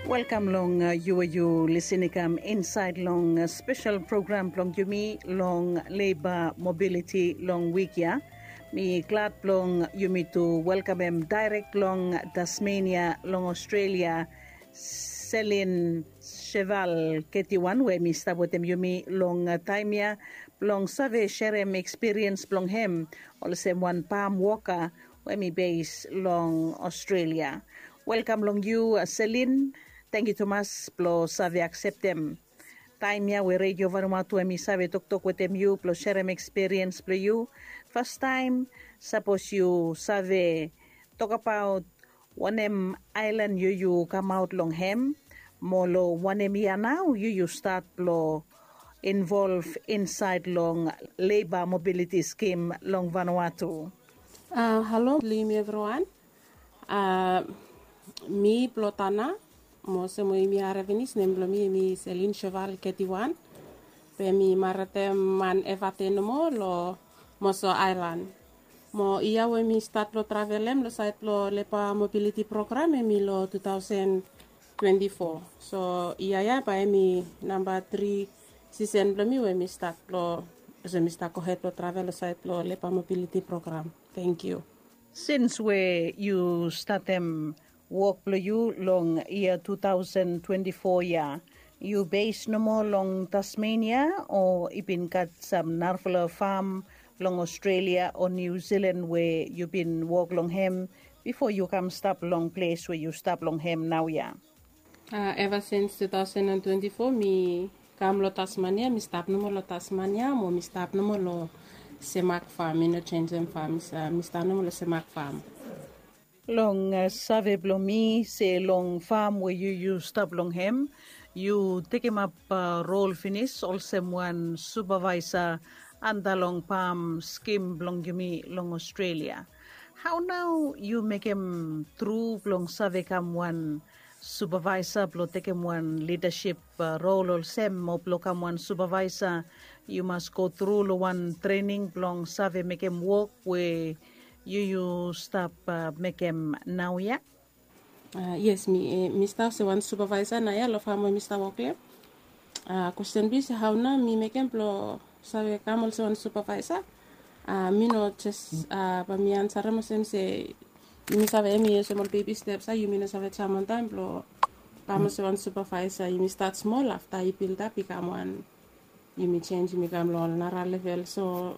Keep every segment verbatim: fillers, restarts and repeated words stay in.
Welkam long yu we yu lisin i kam insaed long spesel program blong yumi long leba mobiliti long wik ya. Mi glad blong yumi tu welkamem daerek long Tasmenia long Australia, Selin Sheval Ketiwan we mi stap wetem yumi long taem ya blong save serem ekspiriens blong hem olsem wan pam woka we mi bes long Australia. Welkam long yu, Selin. Tangkiu tumas blong save akseptem taem ya we Redio Vanuatu hem i save toktok wetem yu blong serem ekspiriens blong yu. Fastaem, sapos yu save tokabaot wanem aelan yu yu kamaot long hem, mo long wanem yia nao yu yu stat blong involv insaed long leba mobiliti skim long Vanuatu? Halo long yumi evriwan. Mi blong Tana, mo olsem we yumi harem finis, nem blong mi hem i Selin Sheval Ketiwan. Be mi maredem man Evate nomo long Moso Aelan. Mo yia we mi stat blong travelem long saed blong leba mobiliti program hem i long two thousand twenty-four. So yia ya bae hem i namba tri sisen blong mi we mi stat blong, olsem mi stat gohed blong travel long saed blong leba mobiliti program. Tangkiu. Sins we yu statem wok blong yu long yia two thousand twenty-four ya, yu bes nomo long Tasmenia o i bin gat sam narafala fam long Australia o Niu Silan we yu bin wok long hem bifo yu kam stap long ples we yu stap long hem naoia? Eva sins two thousand and twenty-four mi kam long Tasmania, mi stap nomo long Tasmania mo mi stap nomo long Semak fam. Mi no jenisim fam, mi stap nomo long Semak fam. Long save blong mi se long fam we yu yu stap long hem, yu tekemap rol finis olsem wan supavaesa anta long pam skim blong yumi long Australia. Hao nao yu mekem tru blong save kam wan supavaesa blong tekem wan lidasip rol olsem? Mo blong kam wan supavaesa yu mas go tru long wan trening blong save mekem wok we yu yu stap mekem naoia? Yes, mi stap olsem wan supavaesa naoia long fam we mi stap wok long hem. Kwesten blong yu se hao nao mi mekem blong save kam olsem wan supavaesa. Mi no jes bae mi ansarem olsem se yumi save hem i olsem ol bebi steps, a yumi no save jam wantaem blong kam olsem wan supavaesa. Yumi stat smol, afta i bildap i kam wan, yumi jenis, yumi kam long ol nara level. So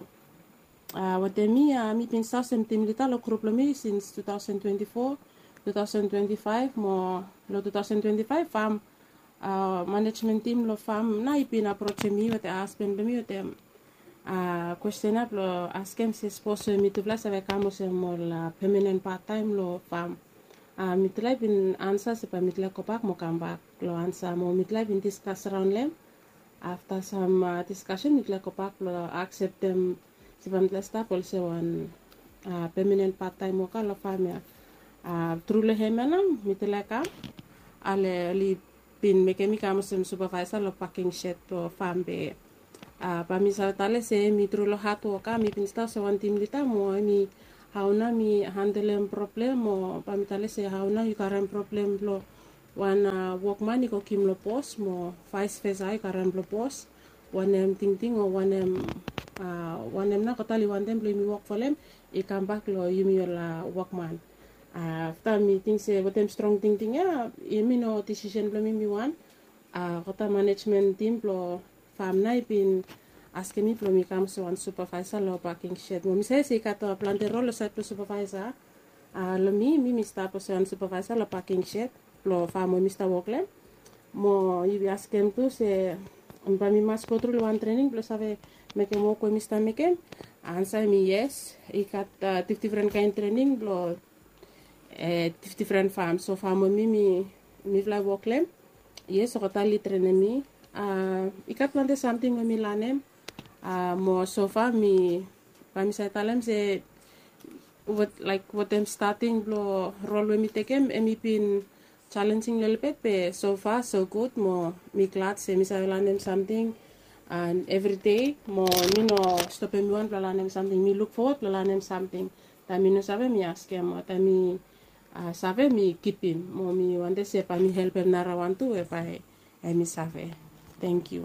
wetem mi, mi bin stap olsem tim lida long grup blong mi sins two thousand twenty-four, two thousand twenty-five mo long two thousand twenty-five fam manejmen tim long fam nao i bin aprojem mi wetem hasban blong mi wetem kwesten ya blong askem se sapos we mitufala save kam olsem ol pemanen pattaem long fam. Mitufala i bin ansa se bae mitufala i gobak mo kambak long ansa, mo mitufala i bin diskas raon long hem. Afta sam diskasen mitufala i gobak blong akseptem se bae mitufala i stap olsem wan pemanen pattaem woka long fam ya. Tru long hem ya nao mitufala i kam, ale oli bin mekem mi kam olsem supavaesa long paking shed blong fam. Be bae mi save talem se hem i tru long hadwok, a mi bin stap olsem wan tim lida mo hem i hao nao mi handelem problem, mo bae mi talem se hao nao yu karem problem blong wan wokman i go givim long bos mo vaes vesa yu karem blong bos. Wanem tingting o wanem, wanem nao God oli wantem blong yumi wok folem i kambak long yumi ol wokman. Afta mi ting se wetem strong tingting ya, yumi no disisen blong mi mi wan. Gota manejmen tim blong fam nao i bin askem mi blong mi kam olsem wan supavaesa long paking shed. Mo mi save se i gat plante rol long saed blong supavaesa. Long mi, mi mi stap olsem wan supavaesa long paking shed blong fam we mi stap wok long hem. Mo yu askem tu se bae mi mas go tru long wan trening blong save mekem wok we mi stap mekem? Ansa hem i yes. I gat difdifren kaen trening blong difdifren fam. So fam we mi, mi mifala i wok long hem, yes, olgeta oli trenem mi. I gat plante samting we mi lanem. Mo sofa mi, bae mi save talem se laek wetem stating blong rol we mi tekem, hem i bin jalenjing lelebet, be sofa so gud. Mo mi glad se mi save lanem samting evridei. Mo mi no stopem mi wan blong lanem samting. Mi luk fowod blong lanem samting. Taem mi no save mi askem, o taem mi Save mi kipim mo mi wantem se bae mi helpem narawan tu we bae em i save. Tangkiu.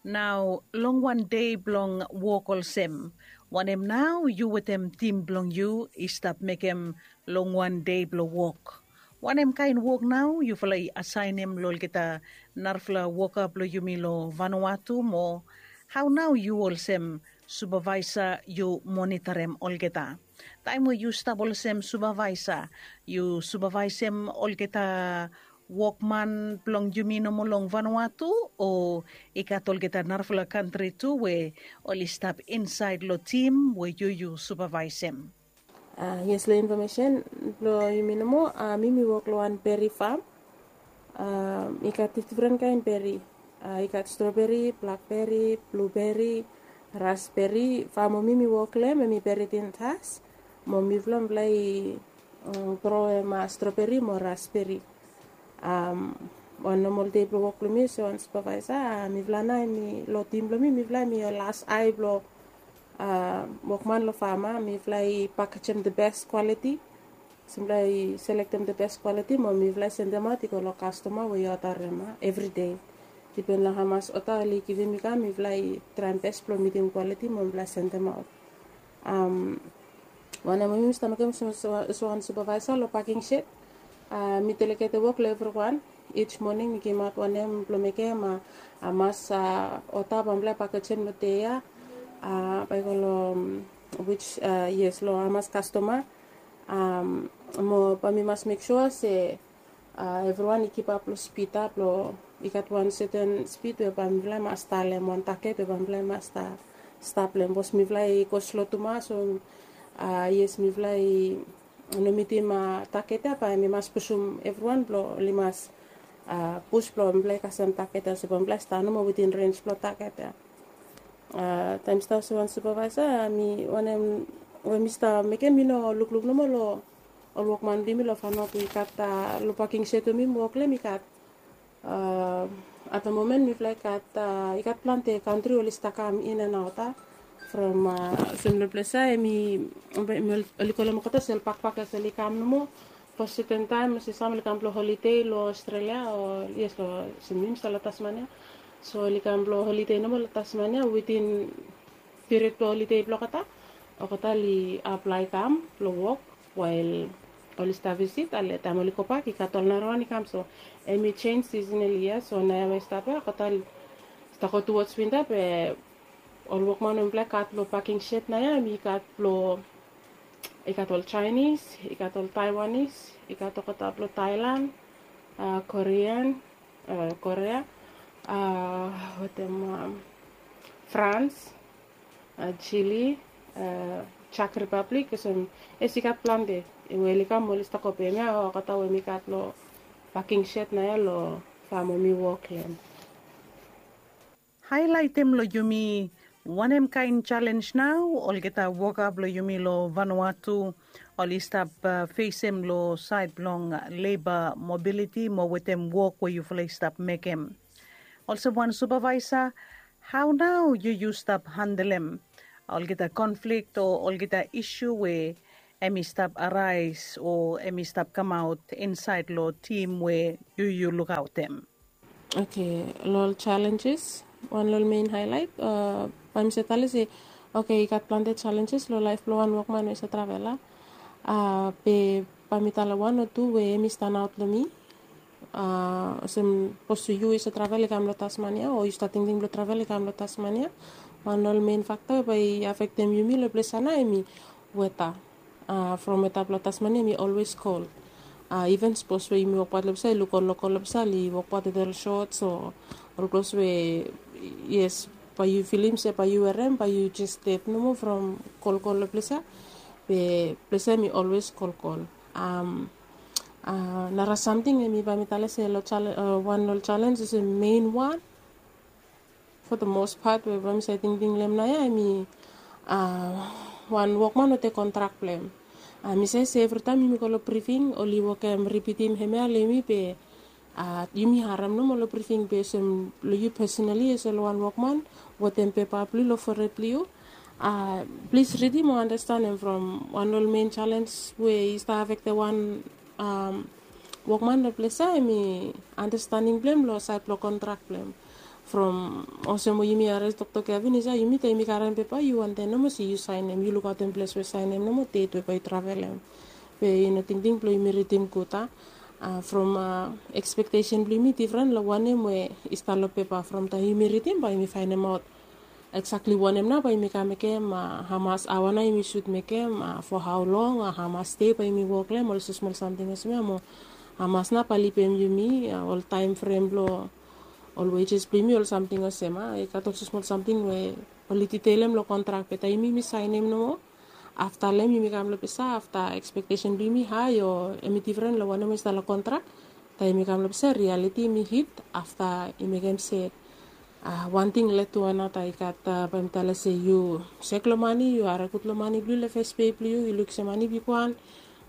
Nao long wan dei blong wok olsem, wanem nao yu wetem tim blong yu i stap mekem long wan dei blong wok? Wanem kaen wok nao yufala i asaenem long olgeta narafala woka blong yumi long Vanuatu mo hao nao yu olsem supavaesa yu monitarim olgeta? Taem we yu stap olsem supavaesa, yu supavaesem olgeta wokman blong yumi nomo long Vanuatu, o i gat olgeta narafala kantri tu we oli stap insaed long tim we yu yu supavaesem? Yes, long infomesen blong yumi nomo, mi mi wok long wan beri fam. I gat difdifren kaen beri. I gat stroberi, blakberi, bluberi, rasberi. Fam we mi mi wok long hem hem i beri tintas. Mo mifala mifala i groem stroberi mo rasberi. Wan nomol dei blong wok blong mi olsem wan supavaesa, mifala nao hem i long tim blong mi, mifala hem i las ae blong wokman long fam. Mifala i pakejem the best quality. Mifala i selektem the best quality mo mifala i sendemaot i go long kastoma we i odarem evri dei. Dipen long hamas oda oli givim i kam, mifala i traem bes blong mitim quality mo mifala i sendemaot. Wanem we mi stap mekem olsem wan supavaesa long paking shed, mi delegete wok long evriwan. Ij moning mi gimaot wanem blong mekem, hamas oda bae mifala i pakejem long dei ya, bae i go long, wis, yes, long hamas kastoma. Mo bae mi mas mek sua se evriwan i kipap long spid ya blong i gat wan seten spid we bae mifala i mas talem, wan taget we bae mifala i mas stap long hem, bikos mifala i go slo tumas. So yes, mifala i no mitim taget ya, bae mi mas pusum evriwan blong oli mas pus blong mifala i kasem taget ya, so bae mifala i stap nomo witin rens blong taget ya. Taem mi stap olsem wan supavaesa, mi wanem we mi stap mekem, mi no lukluk nomo long ol wokman blong yumi long Vanuatu. I gat long paking shed we mi wok long hem, i gat at the moment mifala i gat, i gat plante kantri oli stap kam in and out. From olsem long ples ya, hem i, oli kolem olgeta olsem bakpak ya, olsem oli kam nomo for seten taem, olsem sam oli kam blong holide long Australia, o yes, long, olsem mi mi stap long Tasmania. So oli kam blong holide nomo long Tasmania, witin piriod blong holide blong olgeta, olgeta oli aplae kam blong wok wael oli stap visit, ale taem oli gobak i gat ol narawan i kam. So hem i jenis seasonally ya. So naoia we i stap ya, olgeta oli stap go tuwods winta, be ol wokman we mifala i gat long paking shed naoia, hem i gat blong, i gat ol Chinese, i gat ol Taiwanese, i gat olgeta blong Thailand, Korean, Korea, wetem France, Chile, Czech Republic, olsem, yes, i gat plante we oli kam, oli stap go. Be hemia olgeta we mi gat long paking shed naoia long fam we mi wok long hem. Haelaetem long yumi wanem kaen jalenj nao olgeta woka blong yumi long Vanuatu oli stap fesem long saed blong leba mobiliti mo wetem wok we yufala i stap mekem. Olsem wan supavaesa, hao nao yu yu stap handelem olgeta konflik o olgeta isu we hem i stap araes o hem i stap kamaot insaed long tim we yu yu lukaotem? Oke, long ol jalenjes, wan long ol mein haelaet, bae mi save talem se, oke, i gat plante jalenjes long laef blong wan wokman we i save travel ya. Be bae mi talem wan o tu we hem i standaot long mi. Olsem, sapos yu i save travel i kam long Tasmania, o yu stap tingting blong travel i kam long Tasmania, wan long ol mein fakta we bae i afektem yumi long ples ya nao hem i weta. From weta blong Tasmania hem i olwes kol. Iven sapos we yumi wokbaot long ples ya, yu luk ol lokol long ples ya oli wokbaot wetem ol sots o ol klos we, yes, bae yu filim se bae yu werem bae yu jes ded nomo from kolkol long ples ya. Be ples ya hem i olwes kolkol. Nara samting hem i, bae mi talem se wan long ol jalenj olsem mein wan, for the most part, we bae mi save tingting long hem naoia, hem i wan wokman we tek kontrak blong hem. Mi save se evritaem yumi go long brifing oli wokem ripitim hemia long yumi, be yumi harem nomo long brifing, be olsem long yu pesonali olsem long wan wokman wetem pepa blong yu long fored blong yu, plis ridim o andastanem from wan long ol mein jalenj we i stap afektem wan Wokman long ples ya em i andastaning blong em long sait blong kontrak blong em. From olsem we yumi harim toktok ya finis ya, yumi taem yumi karem pepa yu wantaem nomo se yu saenem, yu lukaotem ples we saenem nomo, det we bae yu travelem. Be i no tingting blong yumi ridim gud a. From ekspektesen blong yumi difren long wanem we i stap long pepa. From taem yumi ridim bae yumi faenemaot eksakli wanem nao bae yumi kam mekem, hamas aoa nao yumi sud mekem, fo hao long, hamas dei bae yumi wok long em, ol smosmol samting olsem ya mo hamas nao bae lipem yumi, ol taem frem blong ol wejes blong yumi, ol samting olsem ya. I gat ol smosmol samting we oli diteilem long kontrak, be taem yumi saenem nomo, afta long em yumi kam long ples ya, afta ekspektesen blong yumi hae o em i difren long wanem we i stap long kontrak. Taem yumi kam long ples ya, rialiti yumi hit, afta i mekem se wan ting led tu anata. I gat, bae mi talem se yu sek long mane, yu harim gud long mane blong yu long fes pei blong yu, yu luk se mane bigwan,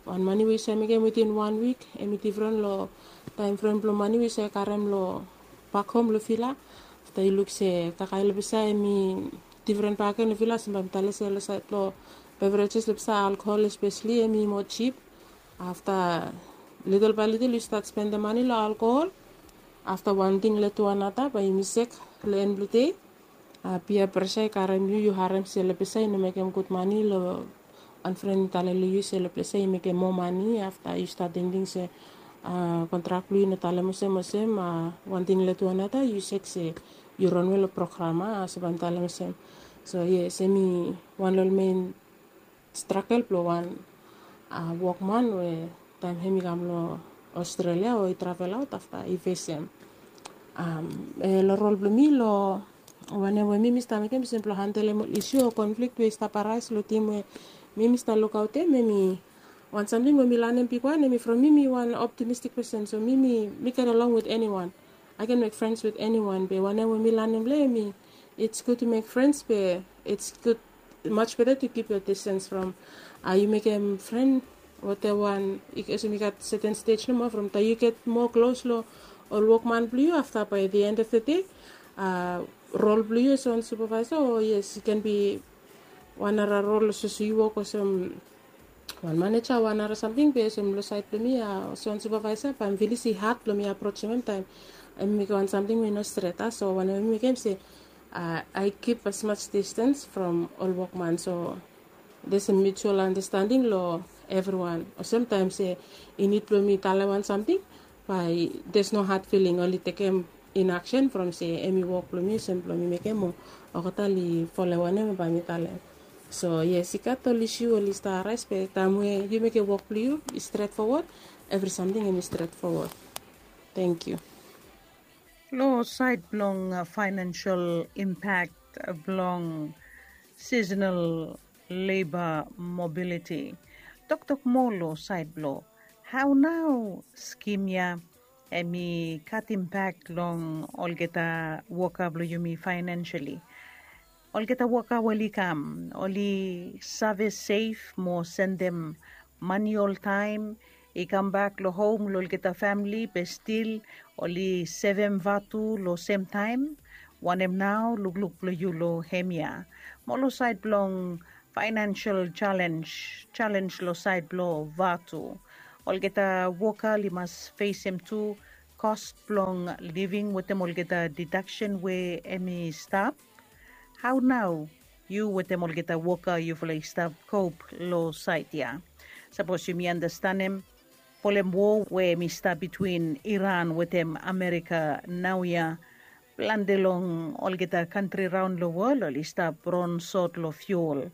wan mane we yu save mekem witin wan wik, em i difren long taem frem blong mane we yu save karem long bak hom long vila. Afta yu luk se kakae long ples ya em i difren bakegen long vila, olsem bae mi talem se long sait blong beverages long ples ya, alkohol espeseli em i moa jip. Afta litil bae litil yu stat spendem mane long alkohol. Afta wan ting led tu anata bae yumi sek long en blong dei. Pia presa i karem yu, yu harem se long ples ya i no mekem gud mane, long wan fren i talem long yu se long ples ya i mekem moa mane. Afta yu stat tingting se kontrak blong yu i no talem olsem olsem, wan ting led tu anata yu sek se yu ronwe long program, a olsem bae mi talem olsem. So yes, em i wan long ol men stragel blong wan wokman we taem hem i kam long Australia o i travel aot, afta i fesem. Long rol blong mi long wanem we mi mi stap mekem olsem blong handelem ol isu o konflik we i stap araes long tim we mi mi stap lukaotem, em i wan samting we mi lanem bigwan, em i from mi mi wan optimistik pesen, so mi mi mi get along with anyone. I can make friends with anyone, be wanem we mi lanem long em i, it's good to make friends, be it's good, much better to keep your distance from, yu mekem fren wetem wan, olsem i gat seten stej nomo, from taem yu get moa klos long ol wokman blong yu, afta bae the end of the day, rol blong yu olsem wan supavaesa, o yes, i ken bi wan nara rol olsem yu wok olsem wan maneja, wan nara samting, be olsem long sait blong mi, olsem wan supavaesa, bae mi filis i had blong mi aprojem hem taem em i mekem wan samting we i no stret, a. So wanem we mi mekem se I keep as much distance from ol wokman, so there's a mutual understanding long evriwan. Olsem taem se i nid blong mi talem wan samting, bae there's no hard feeling, oli tekem in action from se em i wok blong mi, olsem blong mi mekem, o olgeta oli folem wanem bae mi talem. So yes, i gat ol isu oli stap araes, be taem we yu mekem wok blong yu i stret fowod, evri samting em i stret fowod. Tangkiu. Long sait blong faenensel impak blong seasonal labor mobility, toktok moa long sait blong hao nao skim ya em i gat impak long olgeta woka blong yumi faenenseli. Olgeta woka we oli kam, oli save sev mo sendem mane oltaem i kambak long hom long olgeta famili, be stil oli sevem vatu long semtaem. Wanem nao lukluk blong yu long hemia? Mo long sait blong faenensel jalenj, jalenj long sait blong vatu, olgeta woka oli mas fesem tu kos blong living wetem olgeta didaksen we em i stap. Hao nao yu wetem olgeta woka yufala i stap kop long sait ya? Sapos yumi andastanem polem wo we em i stap bitwin Iran wetem Amerika naoia, plante long olgeta kantri raon long wol oli stap ronsot long fiul.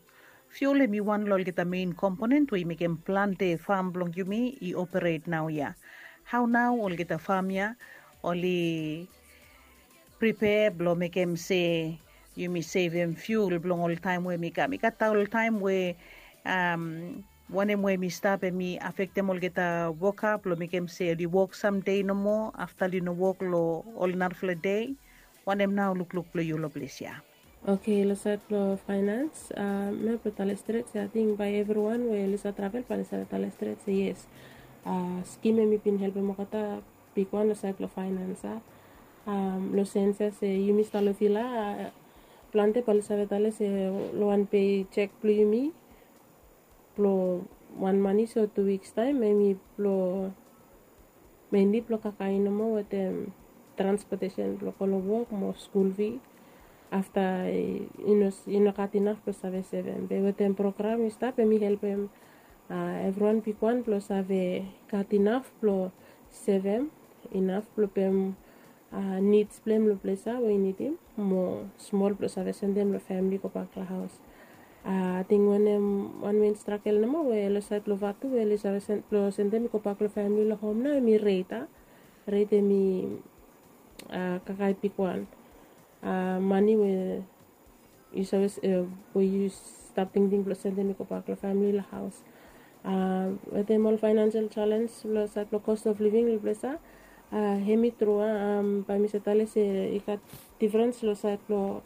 Fiul em i wan long olgeta mein komponen we i mekem plante fam blong yumi i operet naoia. Hao nao olgeta fam ya oli pripea blong mekem se yumi sevem fiul blong ol taem we mi kam? I gat ol taem we wanem we mi stap em i afektem olgeta woka blong mekem se oli wok samdei nomo afta oli no wok long ol narafala dei. Wanem nao lukluk blong yu long ples ya? Oke, long sait blong faenens, mi blong talem stret se ating bae evriwan we oli save travel bae oli save talem stret se yes, skim em i bin helpem olgeta bigwan long sait blong faenens, a. Long sens ya se yumi stap long vila, plante bae oli save talem se long wan pei jek blong yumi blong wan manis o tu wiks taem, hemi blong, menli blong kakae nomo wetem transpotesen blong go long wok mo skul fi. Afta i no gat inaf blong save sevem, be wetem program i stap hemi helpem evriwan bigwan blong save gat inaf blong sevem, inaf blong pem nids blong hem long ples ya we i nidim, mo smol blong save sendem long famili gobak long haos. Ating wanem wan men stragel nomo we long saed blong Vatu we oli save blong sendem i gobak long famili long hom nao, hemi ret a ret hemi kakae bigwan. Mani we yu save we yu stap tingting blong sendem i gobak long famili long haos. Wetem ol faenansel jalens long saed blong cost of living long ples ya, hemi tru a, bae mi save talem se i gat difrens long saed blong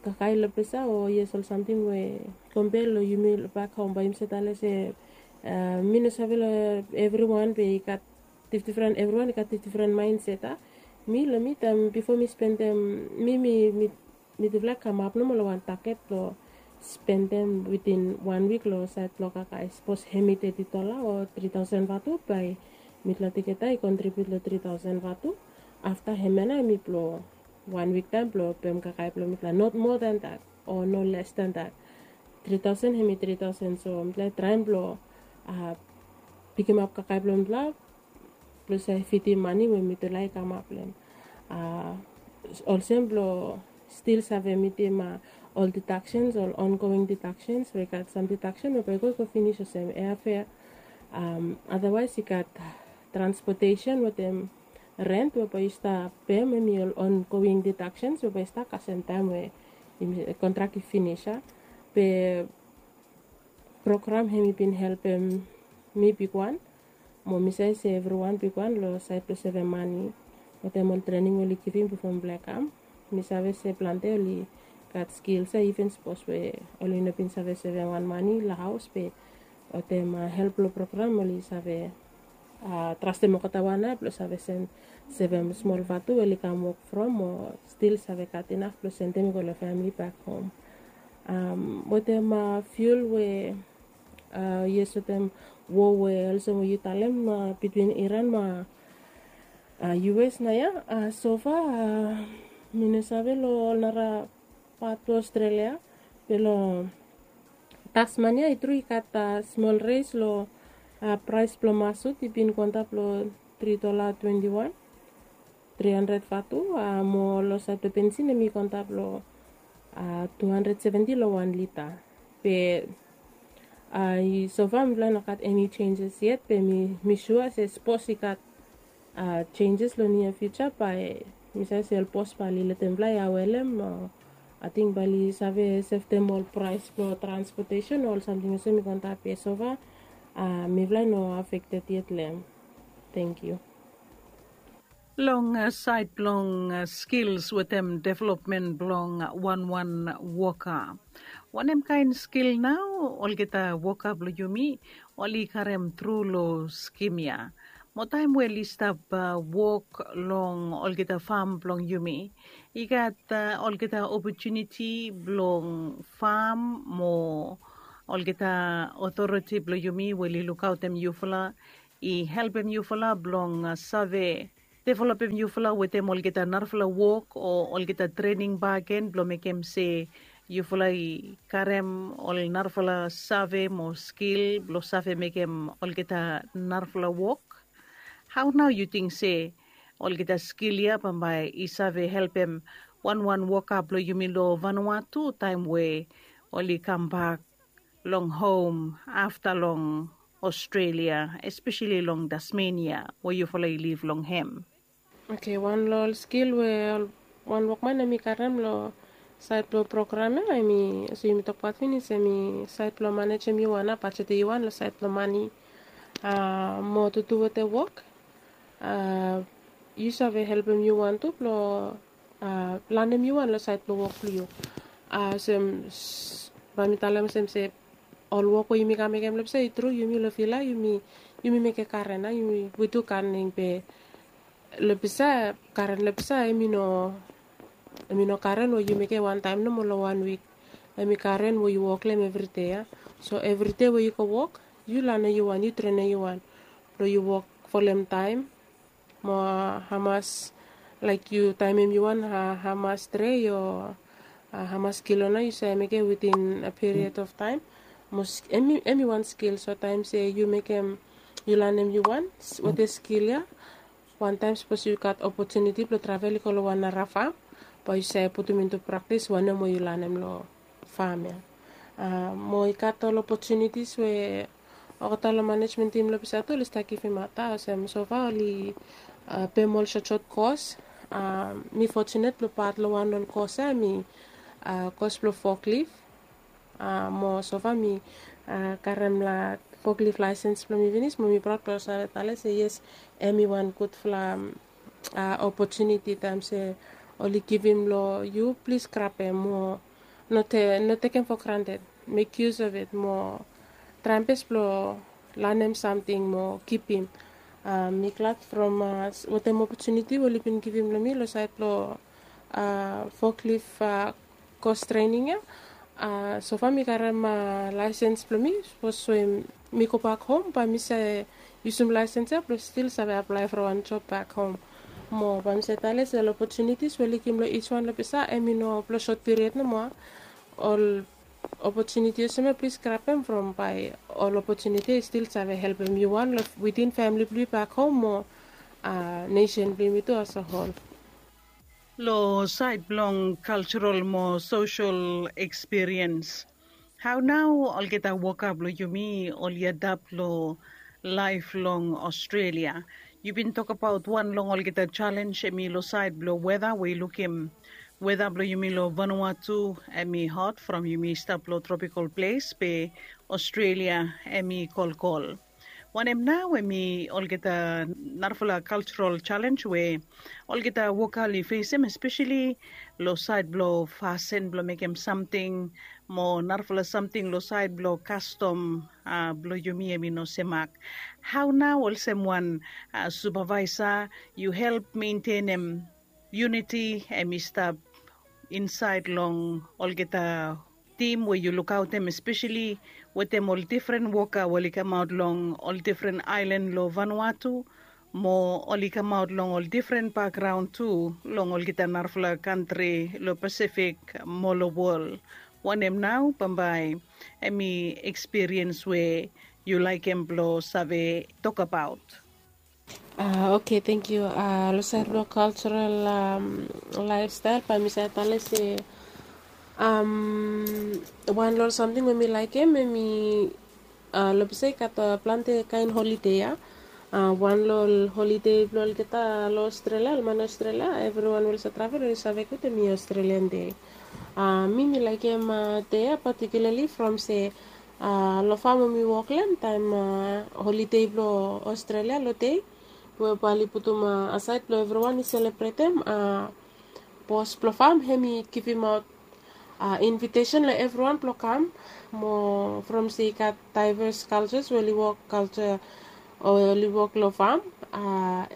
kakae long ples ya o yes ol samting we kompea long yumi long bak hom, bae yumi save talem se mi no save long evriwan be i gat difdifren, evriwan i gat difdifren maenset a. Mi long mi taem bifo mi spendem, mi mi mitufala i kamap nomo long wan taget blong spendem witin wan wik long saed blong kakae. Sapos hemi teti dola o tri taosen Vatu, bae mitufala tugeta i kontribiut long tri taosen Vatu. Afta hemia nao hemi blong wan wik taem blong pem kakae blong mitufala, not moa dan dat o no les dan dat. Tri taosen hemi tri taosen, so mitufala i traem blong pikimap kakae blong mitufala blong save fidim mani we mitufala i kamap long hem. Olsem blong stil save mitim ol didaksen, ol ongoing didaksen we i gat sam didaksen we bae i go i go finis olsem airfare. Adawaes i gat transpotesen wetem rent we bae yu stap pem, hemi ol ongoing didaksen we bae i stap kasem taem we kontrak i finis ya. Be program hemi bin helpem mi bigwan, mo mi save se evriwan bigwan long saed blong sevem mani wetem ol trening we oli givim bifo mifala i kam. Mi save se plante oli gat skils ya, iven sapos we oli no bin save sevem wan mani long haos, be wetem help blong program oli save trastem olgeta wan ya blong save sevem smol Vatu we oli kam wok from, o stil save gat inaf blong sendem i go long famili bak hom. Wetem fiul we yes, wetem wo we olsem we yu talem bitwin Iran mo US nao ya, sofa mi no save long ol nara pat blong Australia. Be long Tasmania i tru i gat smol res long praes blong masut, i bin go antap long tri dola twenti wan, tri handred Vatu, mo long saed blong bensin hemi go antap long tu handred seventi long wan lita. Be sofa mifala i no gat eni jenjes yet, be mi sua se sapos i gat jenjes long nia fiuja bae mi save se ol bos bae oli letem mifala i awelem. Ating bae oli save sevtem ol praes blong transpotesen o ol samting olsem i go antap, be sofa mifala i no afekted yet long hem. Tangkiu. Long saed blong skils wetem developmen blong wanwan woka, wanem kaen skil nao olgeta woka blong yumi oli karem tru long skim ya? Mo taem we oli stap wok long olgeta fam blong yumi, i gat olgeta opotuniti blong fam mo olgeta otoriti blong yumi we oli lukaotem yufala, i helpem yufala blong save developem yufala wetem olgeta narafala wok o olgeta trening bakegen blong mekem se yufala i karem ol narafala save mo skil blong save mekem olgeta narafala wok. Hao nao yu ting se olgeta skil ya bambae i save helpem wanwan woka blong yumi long Vanuatu taem we oli kambak long hom afta long Australia, espeseli long Tasmania we yufala i liv long hem? Oke, wan long ol skil we wan wokman hemi karem long saed blong program ya, hemi olsem yumi tokbaot finis, hemi saed blong manejem yu wan, bajetem yu wan long saed blong mani. Mo tutu wetem wok yu save helpem yu wan tu blong lanem yu wan long saed blong wok blong yu. Olsem bae mi talem olsem se ol wok we yumi kam mekem long ples ya, i tru yumi long fil ya yumi mekem karen ya, yumi we tu kaning, be long ples ya karen long ples ya hemi no, hemi no karen we yu mekem wantaem nomo long wan wik. Em i karen we yu wok long em evri dei ya. So evri dei we yu go wok, yu lanem yu wan, yu trenem yu wan blong yu wok folem taem mo hamas, laik yu taemem yu wan, hamas dre o hamas kilo nao yu save mekem within a period of taem. Mo em i wan skil. So taem se yu mekem, yu lanem yu wan wetem skil ya, wantaem sapos yu gat opotuniti blong travel i go long wan nara fam, bae yu save putum intu praktis wanem we yu lanem long fam ya. Mo i gat ol opotunitis we olgeta long manejmen tim long Pisa tu oli stap givimaot ya, olsem sofa oli pem ol sotsot kos. Mi fotinet blong pat long wan ol kos ya, em i kos blong foklif. Mo sofa mi karem la foklif laesens blong mi finis, mo mi praod blong save talem se yes, em i wan gudfala opotuniti taem se oli givim long yu, plis grabem mo no tekem fo granted. Mek yus of it mo traem bes blong lanem samting mo kipim. Mi glad from wetem opotuniti we oli bin givim long mi long saed blong foklif kos trening ya. Sofa mi karem laesens blong mi, sapos we mi gobak hom bae mi save yusum laesens ya blong stil save aplae from wan job bak hom. Mo bae mi save talem se ol opotunitis we oli givim long ij wan long Pisa, em i no blong sot piriod nomo. Ol opotuniti olsem ya plis grabem from bae ol opotuniti i stil save helpem yu wan long witin famili blong yu bak hom mo nesen blong yumi tu asehol. Long saed blong kalserol mo sosel ekspiriens, hao nao olgeta woka blong yumi oli adap long laef long Australia? Yu bin tokbaot wan long olgeta jalenj em i long saed blong weta we i lukim weta blong yumi long Vanuatu em i hot from yumi stap long tropikal ples be Australia em i kolkol. Wanem nao em i olgeta narafala kalserol jalenj we olgeta woka oli fesem, espeseli long saed blong fasin blong mekem samting mo narafala samting long saed blong kastom blong yumi em i no semak. Hao nao olsem wan supavaesa yu help mentenem yuniti em i stap insaed long olgeta tim we yu lukaotem, espeseli wetem ol difren woka we oli kamaot long ol difren aelan long Vanuatu mo oli kamaot long ol difren bakgraon tu long olgeta narafala kantri long Pasifik mo long wol? Wanem nao bambae em i ekspiriens we yu laekem blong save tokbaot? Oke, tangkiu. Long saed blong kalserol laefstael bae mi save talem se wan long ol samting we mi laekem em i long Pisa i gat plante kaen holide ya. Wan long ol holide blong olgeta long Australia, ol man Australia, evriwan we oli save travel oli save gud em i Australian Day. Mi mi laekem dei ya patikiulali from se long fam we mi wok long hem taem holide blong Australia long dei we bae oli putum asaed blong evriwan i selebretem, bos blong fam hem i givimaot invitesen long evriwan blong kam. Mo from se i gat daeves kalses we oli wok kalsa o oli wok long fam,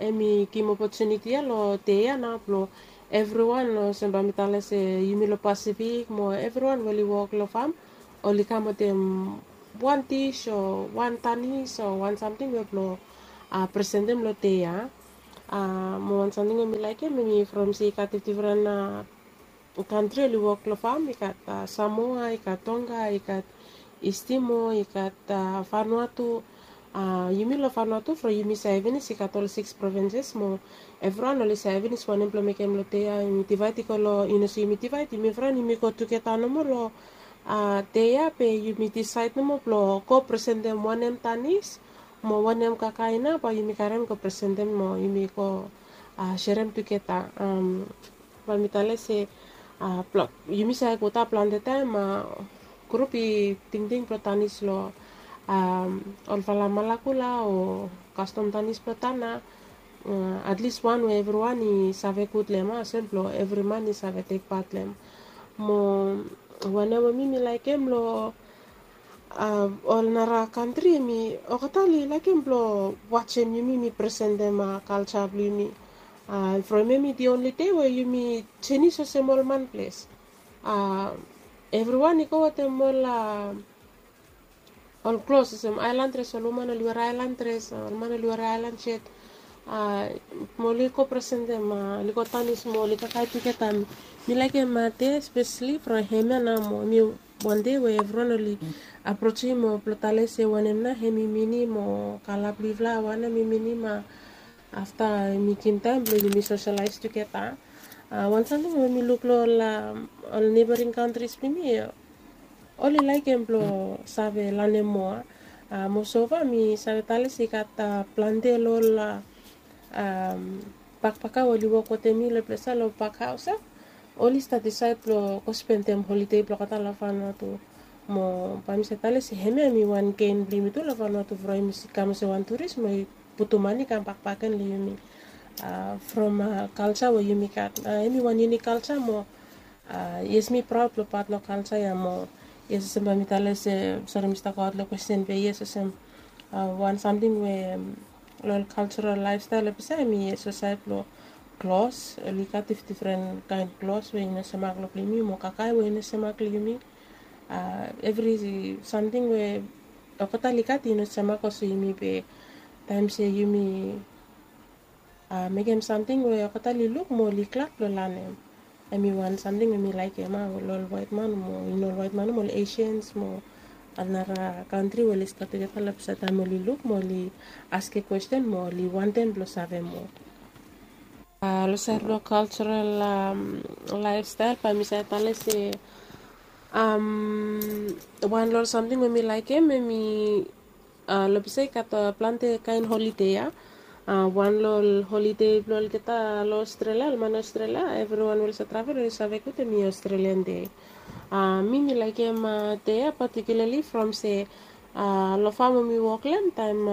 hem i givim opotuniti ya long dei ya nao blong evriwan, olsem bae mi talem se yumi long Pasifik mo evriwan we oli wok long fam oli kam wetem wan dis o wan tanis o wan samting we blong presentem long dei ya. Mo wan samting we mi laekem em i from se i gat difdifren kantri oli wok long fam. I gat Samoa, i gat Tonga, i gat Istimo, i gat Vanuatu. Yumi long Vanuatu from yumi save finis i gat ol sikis provinses mo evriwan oli save finis wanem blong mekem long dei ya. Yumi divaed i go long, i no se yumi divaed, yumi evriwan yumi go tugeta nomo long dei ya be yumi disaed nomo blong go presentem wanem tanis mo wanem kakae nao bae yumi karem go presentem mo yumi go serem tugeta. Bae mi talem se yumi save gud ya plante taem grup i tingting blong tanis long olfala malakula o kastom tanis blong tana. Atlis wan we evriwan i save gud long hem, olsem blong evri man i save tekpat long hem. Mo wanem we mi mi laekem long ol nara kantri em i olgeta oli laekem blong wajem yumi mi presentem kalsa blong yumi. From hem i di onli dei we yumi jenis olsem ol man ples. Evriwan i go wetem ol ol klos olsem ailan dres, ol woman oli were ailan dres, ol man oli were ailan set. Mo oli go presentem, oli go tanis mo oli kakae tugeta. Mi laekem de spesali from hemia nao mo mi wan dei we evriwan oli aprosim mo blong tale se wanem nao hem i minim o kala blong yufala, wanem i minim afta mi givim taem blong yumi soselaes tugeta. Wan samting we mi luk long ol neibaring kantris blong yumi, oli laekem blong save lanem moa. Mo sofa mi save tale se i gat plante long ol bakbaka we oli wok wetem mi long ples ya, long bakhaos ya, oli stat disaed blong go spendem holide blong olgeta long Vanuatu. Mo bae mi save tale se hemia hem i wan gen blong yumi tu long Vanuatu from yumi kam olsem wan turis mo i putum mane i kam bakbak gen long yumi from kalja we yumi gat. Hem i wan yunik kalja mo yes, mi praod long pat long kalja ya mo yes, olsem bae mi tale se, sori, mi stap goaot long kwesten, be yes, olsem wan samting we long ol kaljaral laefstael long ples ya, hem i yes, olsem saed blong klos, oli gat difdifren kaen klos we i no semak long blong yumi mo kakae we i no semak long yumi. Evri samting we olgeta oli gat i no semak olsem yumi, be taem se yumi mekem samting we olgeta oli luk mo oli glad blong lanem. Hem i wan samting we mi laekem, a, long ol waetman mo i no ol waetman, mo ol Asians mo ol nara kantri we oli stap tugeta long ples ya, taem oli luk mo oli askem kwesten mo oli wantem blong save moa. Long saed blong kaljaral laefstael, bae mi save tale se wan long ol samting we mi laekem, hem i long ples ya i gat plante kaen holide ya. Wan long ol holide blong olgeta long Australia, ol man Australia, evriwan we oli save travel oli save gud, hem i Australian Day. Mi mi laekem dei ya patikiulali from se long fam we mi wok long hem, taem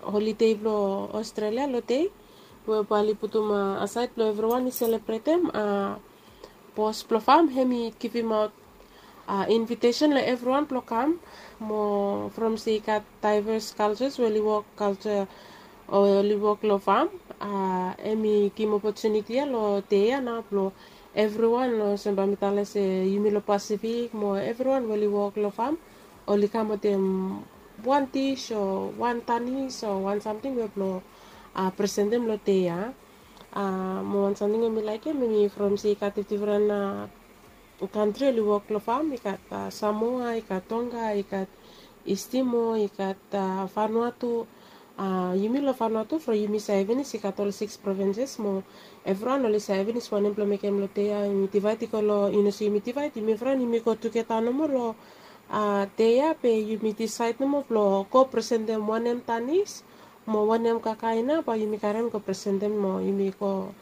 holide blong Australia long dei we bae oli putum asaed blong evriwan i selebretem, bos blong fam hem i givimaot invitesen long evriwan blong kam. Mo from se i gat daevas kaljas we oli wok kalja o oli wok long fam, hem i givim opotuniti ya long dei ya nao blong evriwan, olsem bae mi tale se yumi long Pasifik mo evriwan we oli wok long fam, oli kam wetem wan dis o wan tanis o wan samting we blong presentem long dei ya. Mo wan samting we mi laekem, hem i from se i gat difdifren kantri oli wok long fam, i gat Samoa, i gat Tonga, i gat Istimo, i gat Vanuatu. Yumi long Vanuatu from yumi save finis i gat ol sikis provinses mo evriwan oli save finis wanem blong mekem long dei ya. Yumi divaed i go long, i no se yumi divaed, yumi evriwan yumi go tugeta nomo long dei ya, be yumi disaed nomo blong go presentem wanem tanis mo wanem kakae nao bae yumi karem go presentem mo yumi go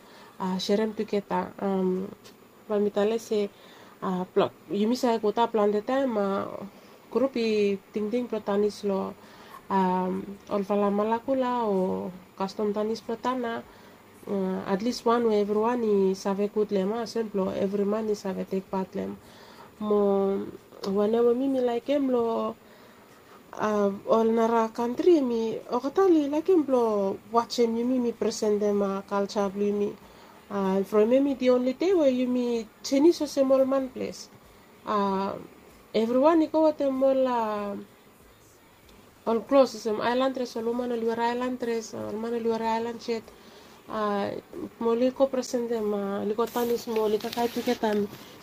serem tugeta. Bae mi tale se yumi save gud plante taem grup i tingting blong tanis long olfala malakula o kastom tanis blong tana, atlis wan we evriwan i save gud long hem, olsem blong evri man i save tek pat long hem. Mo wanem we mi mi laekem long ol nara kantri, hem i olgeta oli laekem blong wajem yumi, yumi presentem kalja blong yumi. From hem i di onli dei we yumi jenis olsem ol man ples. Evriwan i go wetem ol ol klos olsem ailan dres, ol woman oli were ailan dres, ol man oli were ailan set. Mo oli go presentem, oli go tanis mo oli kakae tugeta.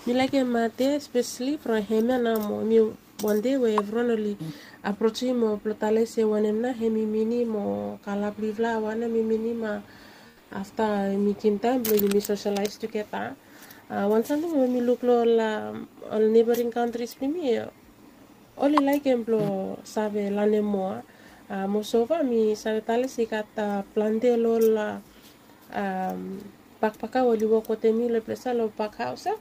Mi laekem de spesali from hemia nao mo hem i wan dei we evriwan oli aprosim mo blong tale se wanem nao hem i minim o kala blong yufala, wanem i minim afta yumi givim taem blong yumi soselaes tugeta. Wan samting we mi luk long ol neibaring kantris blong yumi, oli laekem blong save lanem moa. Mo sofa mi save tale se i gat plante long ol bakbaka we oli wok wetem mi long ples ya, long bakhaos ya,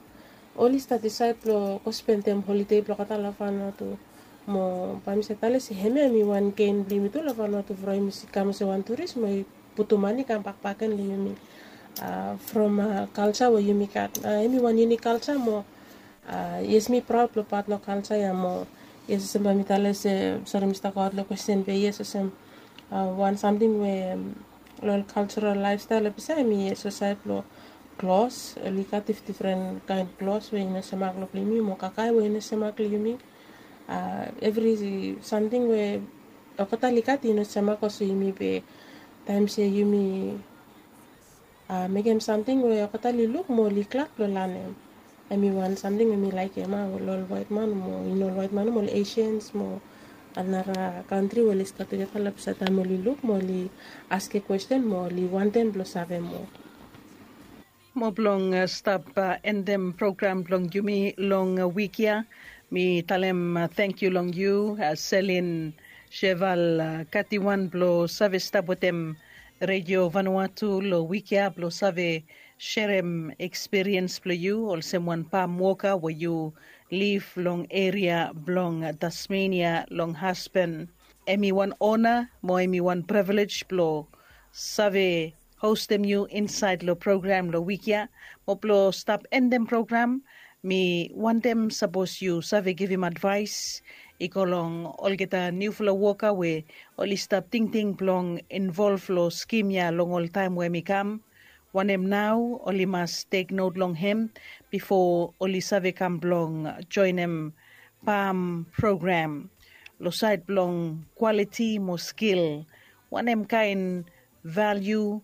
oli stat disaed blong go spendem holide blong olgeta long Vanuatu. Mo bae mi save tale se hemia hem i wan gen blong yumi tu long Vanuatu from yumi kam olsem wan turis mo i putum mane i kam bakbak gen long yumi from kalja we yumi gat. Hem i wan yunik kalja mo yes, mi praod long pat long kalja ya mo yes, olsem bae mi tale se, sori, mi stap goaot long kwesten, be yes, olsem wan samting we long ol kaljaral laefstael long ples ya, hem i yes, olsem saed blong Klos, oli gat difdifren kaen klos we i no semak long yumi mo kakae we i no semak long yumi. Evri samting we olgeta oli gat i no semak olsem yumi be taem se yumi mekem samting we olgeta oli luk mo oli glad blong lanem. Em i wan samting we mi laekem a, ol waetman mo i no ol waetman mo ol Asians mo anara kantri we oli stap tugeta long ples taem oli luk mo oli askem kwesten mo oli wantem blong save moa. Mo blong stap endem program blong yumi long wik ya, mi talem tangkiu long yu, Selin Sheval Katiwan, blong save stap wetem Redio Vanuatu long wik ya blong save serem ekspiriens blong yu olsem wan pam woka we yu liv long eria blong Tasmenia long Aspen. Em i wan ona mo em i wan privilej blong save hostem yu insaed long program long wik ya. Mo blong stap endem program, mi wantem sapos yu save givim advaes i go long olgeta niufala woka we oli stap tingting blong involv long skim ya long ol taem we mi kam. Wanem nao oli mas teknot long hem bifo oli save kam blong joenem pam program? Long saed blong kwaliti mo skil, wanem kaen valiu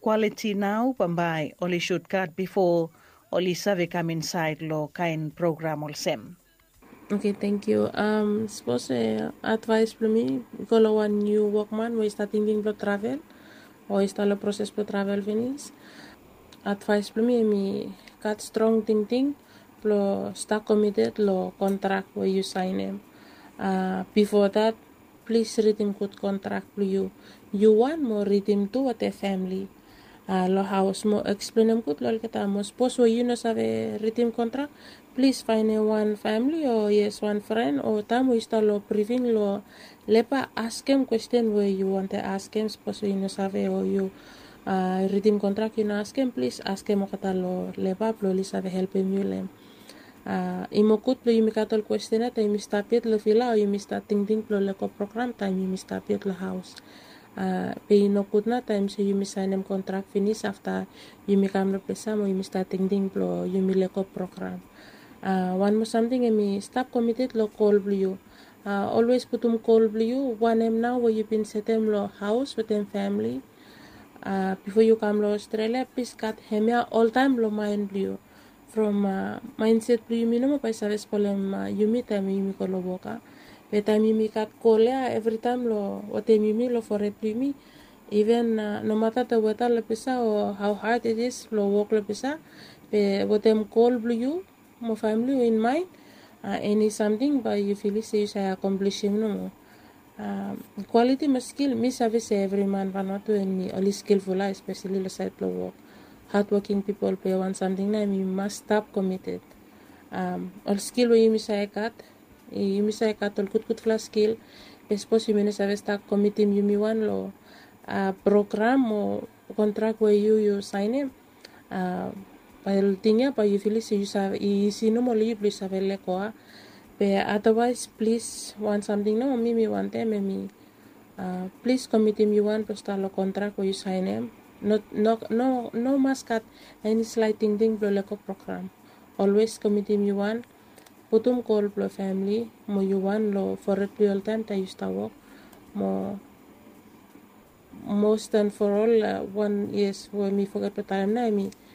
kwaliti nao bambae oli sud gat bifo oli save kam insaed long kaen program olsem? Oke, tangkiu. Sapos advaes blong mi i go long wan niu wokman we i stap tingting blong travel o i stap long proses blong travel finis, advaes blong mi em i gat strong tingting blong stap komited long kontrak we yu saenem. Bifo dat, plis ridim gud kontrak blong yu, yu wan mo ridim tu wetem famili long haos mo eksplenem gud long olgeta. Mo sapos we yu no save ridim kontrak, plis faenem wan famili o yes, wan fren o taem we yu stap long brifing long leba, askem kwesten we yu wantem askem. Sapos we yu no save o yu ridim kontrak yu no askem, plis askem olgeta long leba blong oli save helpem yu long hem. I moa gud blong yumi gat ol kwesten ya taem yumi stap yet long vila o yumi stap tingting blong lego program taem yumi stap yet long haos. Be i no gud nao taem se yumi saenem kontrak finis afta yumi kam long ples ya mo yumi stap tingting blong yumi lego program. Wan moa samting, em i stap komited long gol blong yu. Olwes putum gol blong yu, wanem nao we yu bin setem long haos wetem famili bifo yu kam long Australia, plis gat hemia oltaem long maen blong yu. From maenset blong yumi nomo bae i save spolem yumi taem yumi go long wok a. Be taem yumi gat gol ya evritaem long wetem yumi long fored blong yumi, iven nomata the weta long ples ya o how hard it is blong wok long ples ya, be wetem gol blong yu mo famili yu in maen, eni samting bae yu filim se yu save akomplisim nomo. Kwaliti mo skil, mi save se evri man Vanuatu em i oli skilful a, espeseli long saed blong wok. Hadwoking pipol, be wan samting nao em i mas stap komited. Ol skil we yumi save gat, yumi save gat ol gudgudfala skil. Be sapos yumi no save stap komitim yumi wan long program o kontrak we yu yu saenem, bae ol ting ya bae yu filim se yu save, i isi nomo long yu blong yu save lego a. Be adawaes plis, wan samting nao mi mi wantem em i plis komitim yu wan blong stap long kontrak we yu saenem. No, no, no mas gat eni slae tingting blong lego program. Olwes komitim yu wan, putum gol blong famili mo yu wan long fored blong yu oltaem taem yu stap wok. Mo mos dan for ol, wan yes we mi foget blong talem nao em i